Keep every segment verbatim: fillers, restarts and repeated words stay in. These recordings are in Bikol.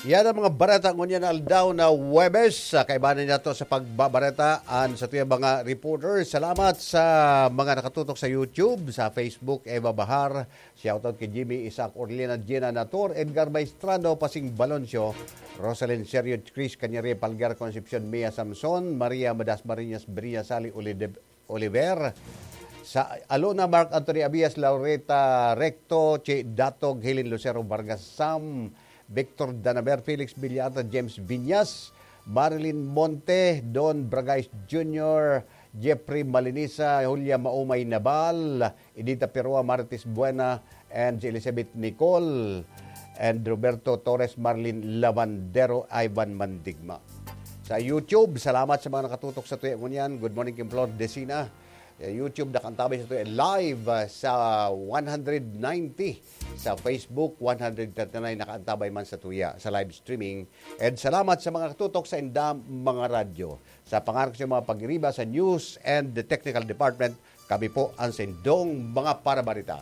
Yan ang mga bareta ngunyan na aldaw na Huwebes. Sa kaibanan niya to sa pagbabareta, an sa tuyang mga reporter. Salamat sa mga nakatutok sa YouTube, sa Facebook, Eva Bahar. Shoutout kay Jimmy Isaac Orlina, Gina Nator, Edgar Maestrano, Pasing Baloncio, Rosalyn Serio, Chris Cañaria, Palgar Concepcion, Mia Samson, Maria Madas Marinas, Brina Sali, Ulide- Oliver. Sa Alona, Mark Anthony Abias, Laureta Recto, Che Datog, Helen Lucero Vargas, Sam, Victor Danaber, Felix Villata, James Viñas, Marilyn Monte, Don Bragais Junior, Jeffrey Malinisa, Julia Maumay Nabal, Edita Perua, Marites Buena, and si Elizabeth Nicole, and Roberto Torres, Marlin Lavandero, Ivan Mandigma. Sa YouTube, salamat sa mga nakatutok sa tuya ngunyan. Good morning, Kim Flor Decina. Sa YouTube, nakaantabay sa tuya live, ah, sa one hundred ninety. Sa Facebook, one hundred thirty-nine, nakaantabay man sa tuya sa live streaming. And salamat sa mga nakatutok sa indang mga radyo. Sa pangaran ko sa mga pag-iriba sa News and the Technical Department, kami po ang sindong mga parabarita.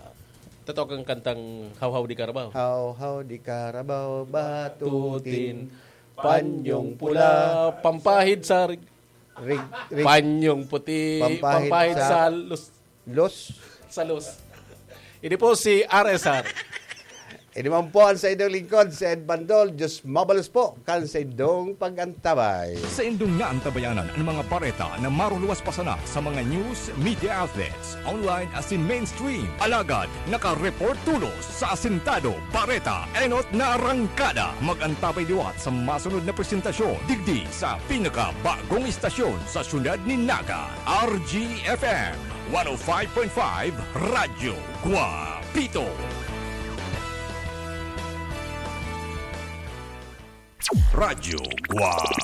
Totoo kang kantang Hawhaw di Karabaw. Hawhaw di Karabaw, batutin, panyong pula, pampahid sa rig-, Rig-, rig-, panyong puti, pampahid pampahid sa sa lus-, los. Sa los. Ini po si R S R. Ini man po ang sa inyong lingkod, si Ed Bandol. Diyos mabalos po kan sa indong pag-antabay. Sa indong naantabayanan ang mga bareta na maruluwas pa sana sa mga news, media outlets, online asin mainstream. Alagad, naka-report tulos sa Asintado Bareta, enot na arangkada. Mag-antabay liwat sa masunod na presentasyon digdi sa pinakabagong istasyon sa siyudad ni Naga, R G F M one oh five point five Radyo Guapito. Radyo Guapito.